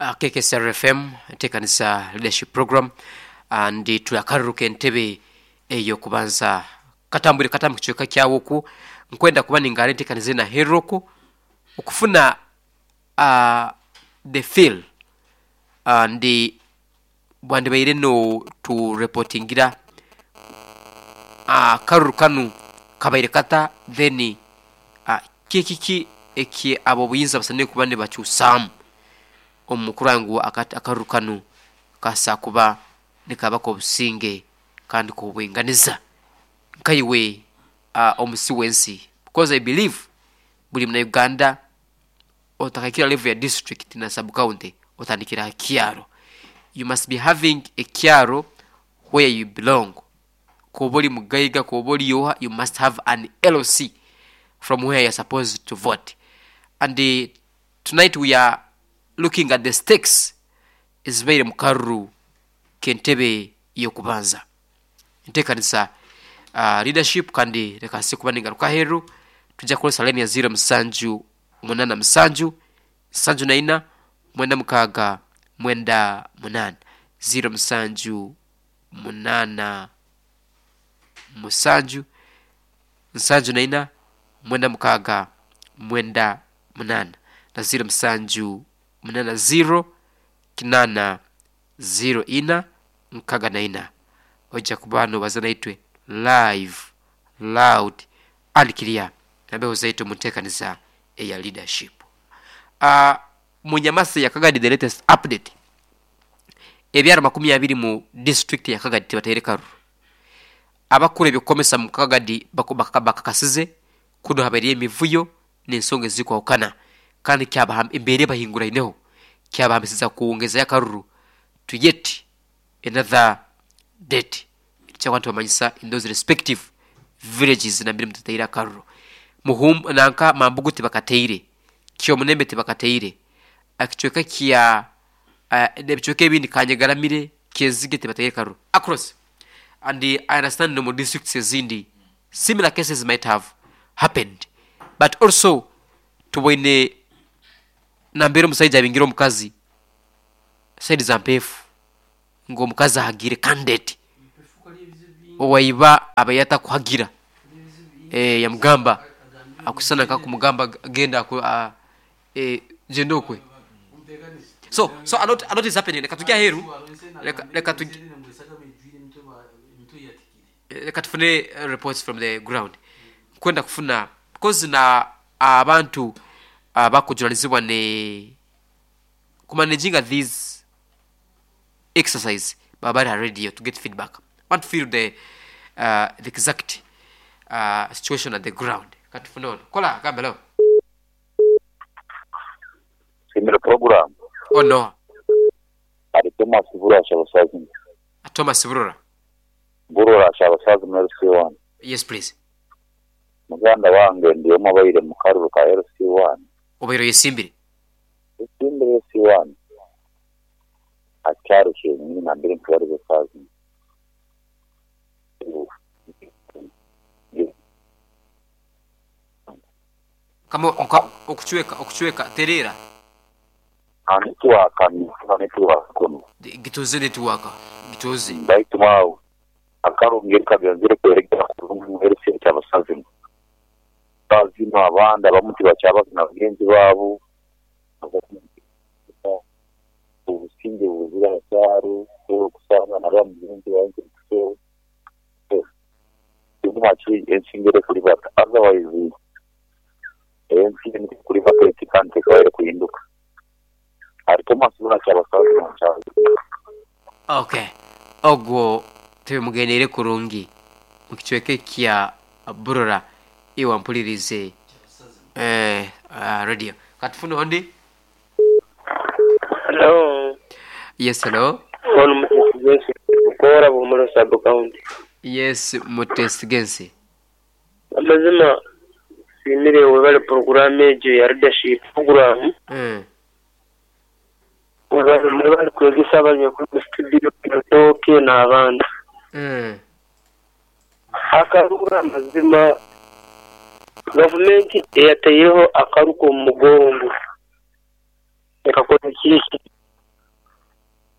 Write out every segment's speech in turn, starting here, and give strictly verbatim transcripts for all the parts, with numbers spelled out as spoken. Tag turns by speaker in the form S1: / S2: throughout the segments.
S1: uh, K K S R F M, enteekanisa Leadership Program, and tulakaruruka entebe eyokubanza katambwire kata mu kicweka kyawoku. Nkwenda kuba ningara enteekaniza naheroko okufuna uh, the feel, and bwandibaire no tureportingira akaruru kanu kabaire kata, then uh, kikiki eki abo buyinza basanire kuba nibakyusaamu omu kurora ngu akaruru kanu kasa kuba nikaba k'obusinge kandi k'obwinganiza. Nkaiwe uh, omusi w'ensi, because I believe buli Munauganda otakakira level ya district na sub county otandikira ha kyaro. You must be having a kyaro where you belong. Koba oli mugaiga, koba oli oha, you must have an L C from where you're supposed to vote. And uh, tonight we are looking at the stakes ezibaire mu karuru k'entebe y'okubanza, enteekanisa uh, Leadership. Kandi reka nsi kuba ningaruka aheeru, tujja kukozesa line ya zero musanju munana musanju nsanju na ina mwenda mukaaga mwenda munana, zero musanju munana musanju nsanju na ina mwenda mukaaga mwenda munana na zero musanju munana zero kinana zero ina nkaga na ina. Ojja kuba nobaza naitwe live, loud and clear nambeho zaitu munteekaniza eya Leadership. uh, munyamasi ya Kagadi, the latest update, ebyaro makumi abiri mu district ya Kagadi tibateire karuru. Abakuru ebyokukomesa mu Kagadi bakakasize kuno habaire emivuyo n'ensonga ezikwahukana, kandi embera ebahinguraineho kyabahambisiza kuwongezayo akaruru to yet another date. Kyakwa tubamanyisa in those respective villages nambere mutataire akaruru. Muhum nanka Mambugu tibakateire, Kyomunembe tibakateire, ekicweka kya uh, ebicweka ebindi, Kanyegaramire, Kyezige, tibateire karuru across. And I understand no mu districts ezindi similar cases might have happened. But also tuboine nambere omusaija abingire omukazi side za Mpefu, ng'omukazi ahagire candidate owaiba abaire atakuhagira, eh, yamugamba akusana nkakumugamba genda aku, uh, eh, genda okwe. so so a lot, a lot is happening. Reka tujye aheru, reka reka tujye, reka tufune eh, reports from the ground. Kwenda kufuna because na abantu abakujunanizibwa ne kumanaginga these exercise baba bari ha radio to get feedback. Want to feel the uh, the exact uh, situation at the ground. Katufune ono kola gambe lo.
S2: Simira program.
S1: Oh no.
S2: Ari Thomas Burora Shabasazi.
S1: Thomas Burora.
S2: Burora Shabasazi mu L C one.
S1: Yes, please.
S2: Muganda wange, ndiyo mabaire mu karuru ka L C one.
S1: Obaire yesimbire?
S2: Isimbire L C one. Akyaro kyenyini nambere ntwari basazi.
S1: Kama oka- okuchweka okuchweka terera.
S2: Network, network kuno.
S1: Gituze, network gituze.
S2: Baitu mwawo akarongera kagenzere kweregera kurungi mu L C kyabasazi. Bazino abandi abamu tibakyabazina bagenzi baabo, obusinge buzira akyaro okusanga naba mugenzi wange. So maki ensinga ere kulibata, otherwise ensi kulibata eti kandi tekabaire kuhinduka. Ari Thomas Burora Kyabasazi mu kyalo.
S1: Okay, ogwo tubimugendeire kurungi mu kicweka kya Burora. Iwa mpulirize eh, uh, radio. Katufune ondi.
S3: Hello.
S1: Yes, hello.
S3: Ono Mutesi Bukora, Bumuro Sub County.
S1: Yes, Mutesigensi.
S3: Amazima simire, webale program egyo ya leadership program.
S1: mm.
S3: Webale, mwebale kwegesa abali kuri studio Toke n'abandi.
S1: Mm.
S3: Akaruru, amazima gavumenti eyataireho akaruko omu mugongo ekakora kiki?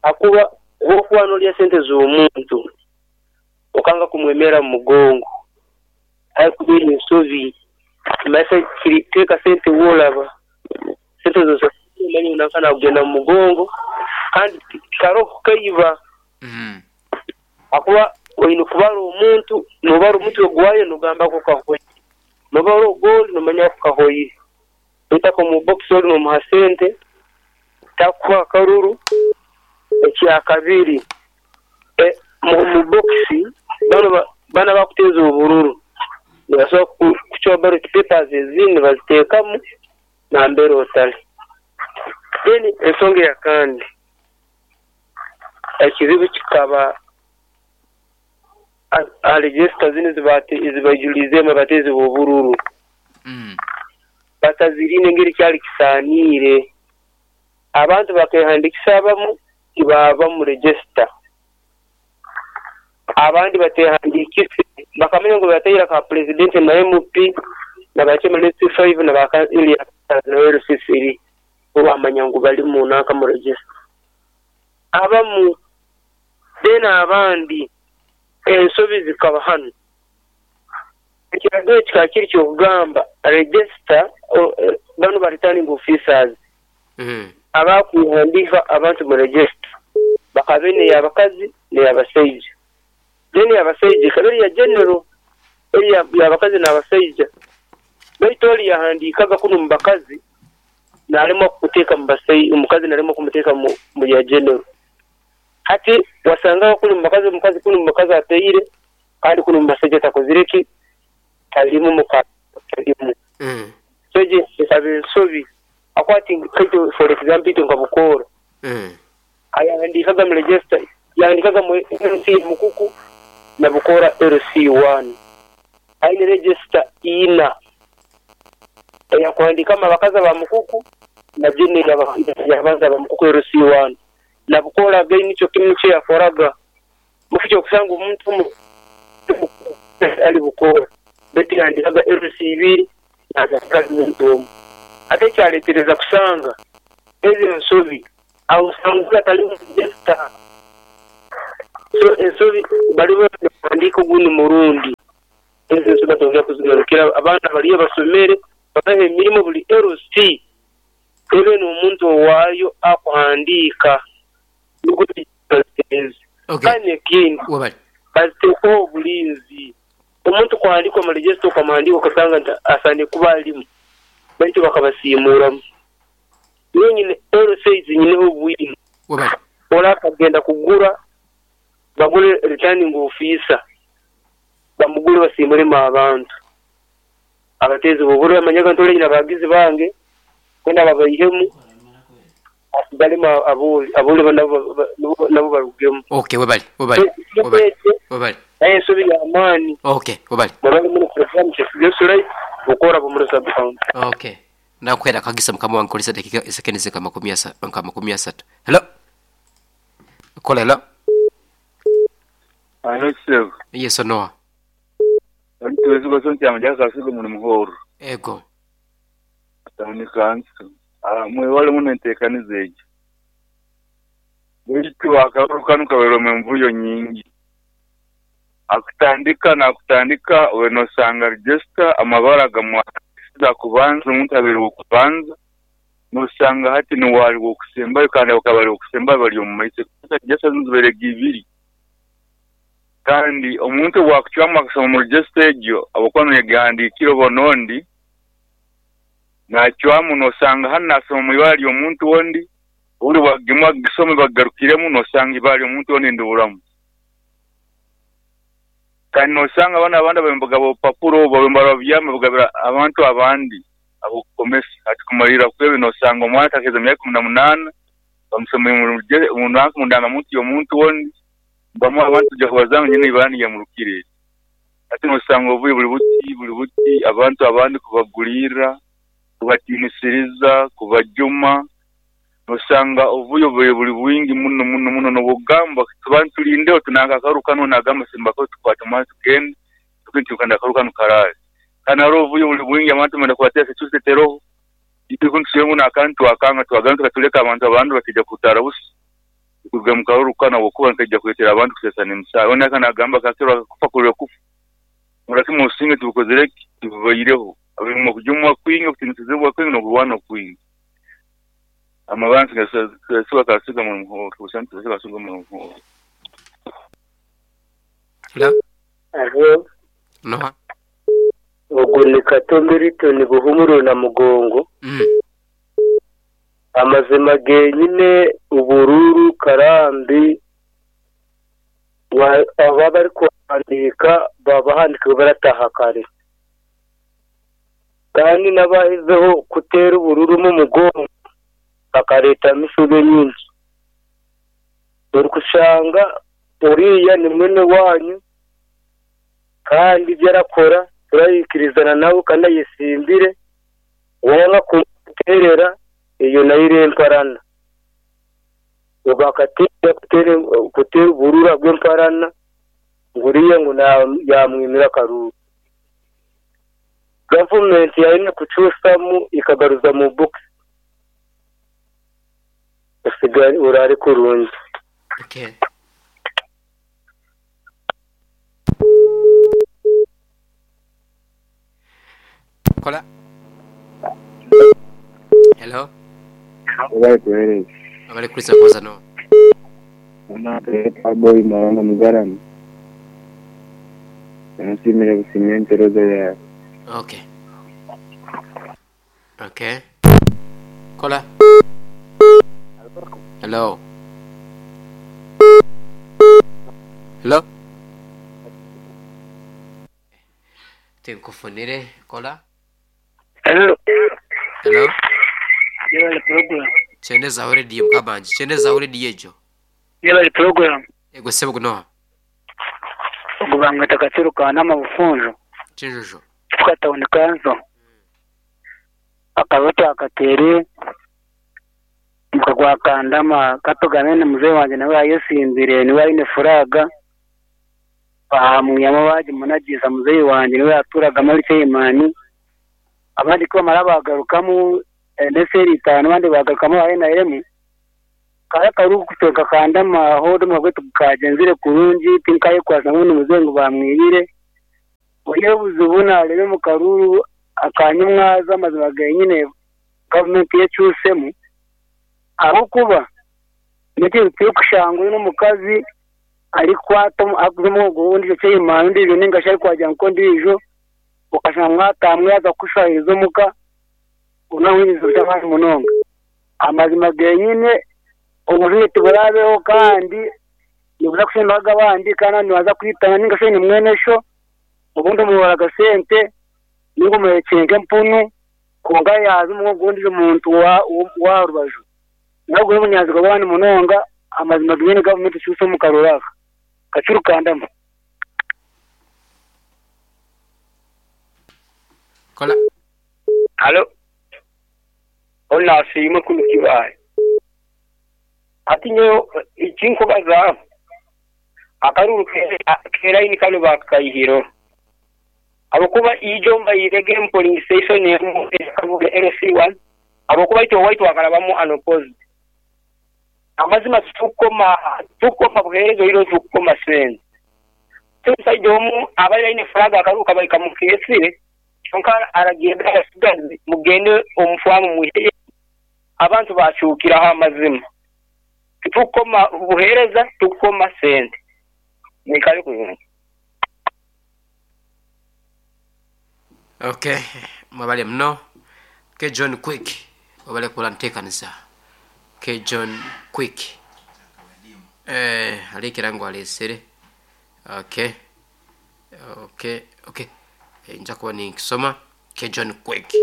S3: Akuba wokuba nolya sente z'omuntu okanga kumwemera mu mugongo haikubeera ensobi maisa kiri teeka sente woolaba sente z'omanyi nanka nakugenda mu mugongo kandi karoho kaiba
S1: Mm.
S3: akuba oyina kubara omuntu nobara omutwe gwayo nogamba ko kahoire nobara ogoli nomanya ko kahoire oitaka omu box oli nomuha sente takuha akaruru ekyakabiri e, mu, mu box bano ba- bana bakuteeza obururu nibasobola ku- kucwa ballot papers ezindi nibaziteekamu nambere otali then ensonga eyakandi ekizibu kikaba a- aha register zinu ezibate- ezibaijulizeemu abateezi b'obururu
S1: Mm.
S3: batazirine engeri kyali kisaaniire abantu bakehandikisa abamu tibaaba mu register abandi batehandikise bakamanya ngu bateire ka president na M P na ba chairman L C five na ba na L C three bo bamanya ngu bali mu nanka mu register abamu then abandi ensobi zikaba hano ekiragiro kikaba kiri kyokugamba register o- eh, bano ba returning officers
S1: Mm.
S3: abakuhandiika abantu mu register bakabe neyabakazi neyabashaija then eyabashaija ikaba eri ya general eri ya- yabakazi n'abashaija baitu ori yahandiikaga kunu mu bakazi nalemwa kuteeka mu bashaija omukazi nalemwa kumuteeka mu, mu ya general hati wasangaho kunu mu bakazi omukazi kunu mu bakazi ateire kandi kunu mu bashaija takozire ki talimu muka talimu
S1: Mm.
S3: so egi ekaba ensobi akwati kaitu for example itwe nka Bukoora
S1: Mm.
S3: ayahandikaga mu register yahandikaga mu L C Mukuku na Bukoora L C one aine register ina eyakuhandikamu abakazi aba Mukuku na general yabanza aba Mukuku L C one na Bukoora again nikyo kimu nikyo yakoraga mukikyo okusanga omuntu omu ali Bukoora baitu yahandikaga L C ibiri nazaakazi omuntu omu ate ekyaleetereza kusanga ezo ensobi aho osanga atali mu register so ensobi bali bahandiika ogundi murundi ezo ensobi batongera kuzigarukira abaana bariyo basomere babaha emirimo buli L C ebe n'omuntu owaayo akuhandiika nukwo baziteeze
S1: Okay.
S3: kandi ekindi
S1: Wabali.
S3: baziteekeho obulinzi omuntu kuhandiika omu register okamuhandiika okasanga nti asaine kuba alimu baitu bakabasiimuuramu nyine L C zinyineho obwino
S1: Wabali.
S3: ora akagenda kugura bagure returning officer bamugure basiimuremu abantu abateezi b'obururu amanyaga nti ore nyine abagizi bange kwenda babaihemu asigalemu aboli aboli bo nabo ba- nabo- nabo barugemu
S1: Okay, wabali. Wabali. Wabali. Wabali.
S3: naye ensobi y'amaani
S1: Okay, wabali.
S3: mwebale muno program kyesigesulai Bukoora Bumuro sub county.
S1: Okay. Nakuhera kagisa mukama wange kolesa dakika sekendi nka makumi asa nka makumi asatu. Hello. Kola hello.
S4: Alo sebo.
S1: Yes Noah.
S4: Tuwezi kwa chama jaka kasigo muno muhoro.
S1: Ego.
S4: Tawuni kansu. Ah mwe wale muno enteekaniza egyo. Baitu akaruru kanu kabaire envuyo nyingi. Akutandika nakutandika we nosanga register amabara gamwasiza kubanza omuntu abeere okubanza nosanga hati niwali okusembayo kandi bakaba okusembayo bali omu maiso. Register zinu zibaire ibiri. Kandi omuntu bwakucwamu akasoma mu register egyo abakuba niyagihandiikire oba n'ondi nacwamu nosanga hanu nasoma mu ibara ly'omuntu ondi obundi bwagimwa gisome bagarukiremu nosanga ibara ly'omuntu ondi ndiburamu. Kandi nosanga abana abandi abembaga obupapuro obu babembara babyama bagabira abantu abandi abokukomesa ati kumalira kwebe nosanga omwana atakeza emyaka ikumi na munaana bamusomere mu nanka mu ndangamuntu y'omuntu ondi bamu abantu tujja kubazanga nyine ibara niyamurukire. Ati nosanga obubi buli buti buli buti abantu abandi kubagulirra kubatiinisiriza kubajuma nosanga obuyo bwe buli bwingi muno muno muno n'obugamba tuba tulindeho tunanka akaru kano nagamba simbako tukwata omwana tugende tukintu akaru kano karaale kandi hariho obuyo buli bwingi abantu benda kubateesa tuteteroho itu kuntusemu n'akantu akanga twagamba tukatuleka abantu abandi bakija kutara busa Kuga mukaruru kana wokuba nkaija kuletera abantu kusesana emisaayi. Ona kana agamba kakirwa kufa kulwe kufa. Murakimu osinge tubukozere tubaireho. Abimo kujumwa kwingi okutinizibwa kwingi n'okurwana kwingi. Amabansi gasuba kasiga mu muhoro, kusantu kasiga mu muhoro.
S1: Hello?
S3: Alo,
S1: Noha?
S3: Ogwo ni Kato Milton Buhumuro na Mugongo.
S1: Mm.
S3: Amazima genyine ubururu karambi wa- aba bari kuhandika babahandika barataha kare, kandi n'abahizeho kutera ubururu mu mugongo bakareta misube nyingi. Uri kushanga uriya ni mwene wanyu kandi ibyo arakora turayikirizana nawe kandi ayisimbire, wanga kumuterera iyo nayo iremparana. Ubakatira kutere kutera uburura bw'emparana nguriya ngo yamwimira karuru. Gavumenti yaine kucusamu ikagaruza mu box usigare urare kurungi.
S1: Okay. Kola. Hello?
S5: Obaye kuhereza.
S1: Abali kulisa koza no.
S5: Ona boy maranga mugarama. Nsimire busimye enteroza yawe.
S1: Okay. Okay. Kola. Hello. Hello. Tinkufunire kola.
S3: Hello.
S1: Hello.
S3: Yebale program.
S1: Chendeza radio mkabanji. Chendeza radio ejo.
S3: Yebale program.
S1: Ego sebo kunoha.
S3: Ogubanga takatiruka nama bufunjo.
S1: Chinjojo.
S3: Tukatawuni kanzo. Akabato akatere mukagwa kandama katugamene mzee wanje nawe ayesimbire niwe aine furaga bahamuyamo baje munagiza mzee wanje niwe aturaga muri Chaimani, abandi ko mara bagarukamu neseri itanu abandi bagarukamu aye na eremu kaya karu kutoka kandama hodo magwetu kajenzire kurungi tinkaye kwasa n'undi mzee ngo bamwibire oye buzubuna rebe mu karuru akanyumwaza amazima genyine government yecusemu aho kuba niki kushangwe n'umukazi ari kwata akuze gundi cyo Chaimani ndijo ninga shari kwaja nko ndijo ukashanga mwatamwe yaza kushahiriza muka unahwiniza cyangwa munonga amazima genyine ubujuriti burabeho kandi nibuza kushimbaga abandi kandi nibaza kwitana ninga shari ni mwenesho ubundi umuhora gasente ningo muhekenke mpunu konga yaza umugundi umuntu wa wa rubaju nabwo n'umunyazigo bw'abandi munonga amazima genyine government cyuso mu karuraka kacurukandamo.
S1: Kola.
S3: Halo. Ona sima kulukibaye. Ati nyo ikinkubaza akaruru kera ini kano bakayihiro. Abakuba ijomba yirege polling station ya L C one abakuba ito white wakalabamu unopposed. Amazima tukoma tukoma buherezo hilo tukoma sen. Tusaide omu abali ine flaga akaruka balika mukesire kyonka aragenda asigaze mugende omufwamu muheye abantu bacukiraho amazima. Tukoma buhereza tukoma sente. Nikali kuyunga.
S1: Okay, mwabale mno. Ke John Quick wabale kula ntekanisa. Ke John Quick. Eh, alikirango alesere. Okay. Okay, okay. E, njakuwa ni kisoma Ke John Quick.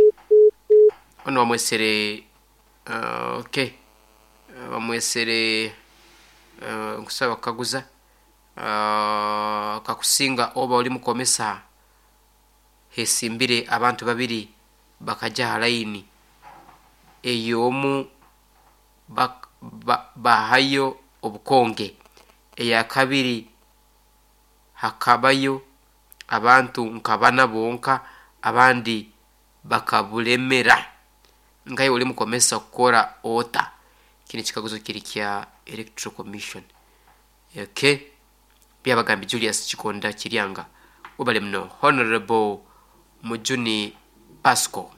S1: Ono wamwesere uh, okay. Uh, wamwesere uh, nkusaba kaguza uh, kakusinga oba oli mukomesa hesimbire abantu babiri bakaja halaini eyomu bak, ba, bahayo obukonge eya kabiri hakabayo abantu nkabana bonka abandi bakabulemera nkaye oli mukomesa kukora ota Kino ekikaguzo kiri kya Electoral Commission. Okay, Byabagambi Julius Kikonda Kiryanga, webale muno. Honorable Mujuni Pasco,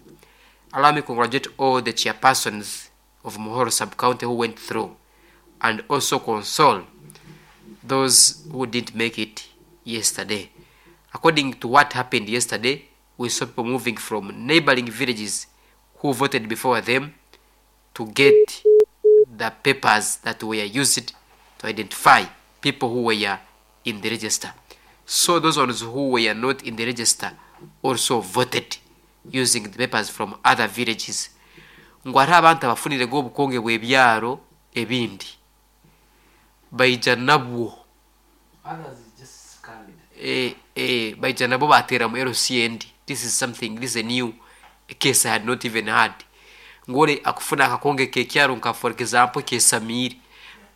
S1: allow me congratulate all the chairpersons of Muhoro sub-county who went through, and also console those who didn't make it yesterday. According to what happened yesterday, we saw people moving from neighboring villages who voted before them to get the papers that were used to identify people who were in the register. So those ones who were not in the register also voted using the papers from other villages. Ngu hariho abantu abafunirego obukonge bw'ebyaro ebindi baija nabwo.
S6: Others is just scanned.
S1: eh, eh, baija nabo bateera mu L C N D. This is something, this is a new case I had not even heard. Ngore akufuna akakonge kekyaro nka, for example, kesamiri,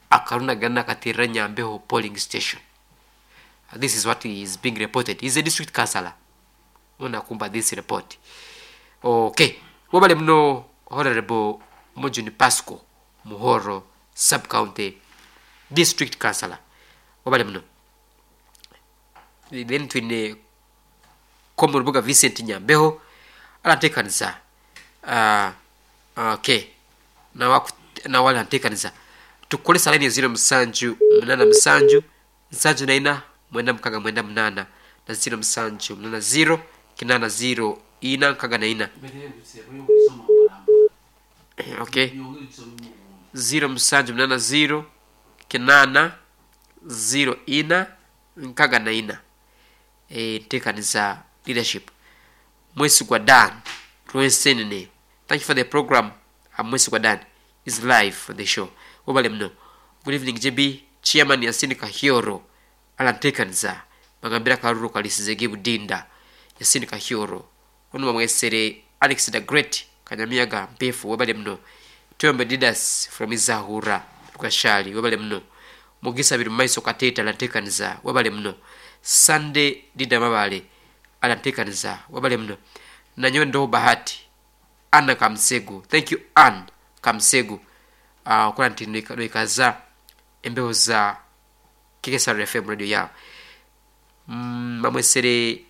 S1: akarunagana akaterera Nyambeho polling station. This is what is being reported. He's a district councillor unakumba this report. Okay, wabale muno, Honorable Mujuni Pasco, Muhoro sub-county district councillor, wabale muno. Then twine komu rubuga Vincent Nyambeho arateekaniza. uh, okay nawe aranteekaniza. Tukolesa line ziro musanju munana musanju nsanju naina mwenda mukaga mwenda munana na ziro musanju munana ziro kinana ziro ina nkaga na ina. Okay, ziro musanju munana ziro kinana ziro ina nkaga na ina. E, nteekaniza leadership. Mwesigwa Dan Rwensenene, thank you for the program. I'm Mwesigwa Dan is live for the show. Wabale mno. Good evening, J B. Chairman Yasini Kahyoro alanteekaniza, bagambira kalulu kalisizege budinda. Yasini Kahyoro ono bamwesere Alex the Great Kanyamiyaga Mpefu, wabale muno. Tuyombe Didas from Izahura Rukashali, wabale muno. Mugisa biri mumaiso Kateta alanteekaniza, wabale muno. Sunday Dida Mabale alanteekaniza, wabale muno. Nanyowe Ndoho Bahati Anna Kamsegu, thank you Ann Kamsegu, uh, okola nti noikaza embeho za K K S R F M radio yawe. mm, bamwesere